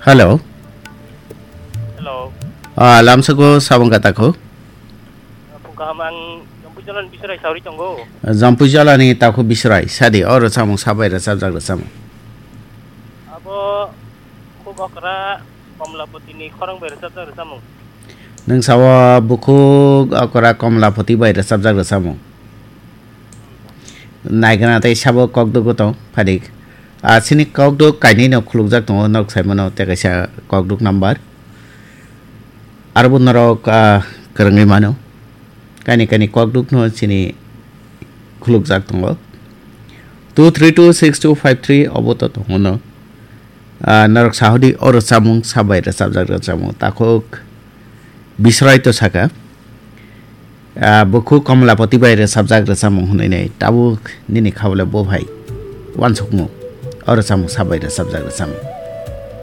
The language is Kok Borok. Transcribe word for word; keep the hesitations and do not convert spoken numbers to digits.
Hello. Hello. Ah, lamsako sabang kata ko. Phung kaham ang Jampui Jala ni Bisrai sauri tongo. Jampui Jala ni tako Bisrai, sadi, oro samung sabai rwchapjak rwchapmung. Abo khuk okra Komlapati ni khorang bai rwchapjak rwchapmung. Nwng sawa bukhuk okra Komlapati bai rwchapjak rwchapmung. Naigana tei sabo kokduk tong phadik. A, chini kokduk kainwi no khulukjak tongo, norok saimano tei kaisa kokduk number. Arbo norok, a, kwrwngwi mano. Kaini kaini kokduk no chini khulukjak tongo. Two three two six two five three obo to tongo no. Ah, norok sahodi oro chamung sabai rwchapjak rwchapmung takhuk Bisrai to saka. Ah, bukhuk Komlapati bai rwchapjak rwchapmung hwnwi nei tabuk nini khabole bo hai uansukmung oro chamung sabai rwchapjak rwchapmung.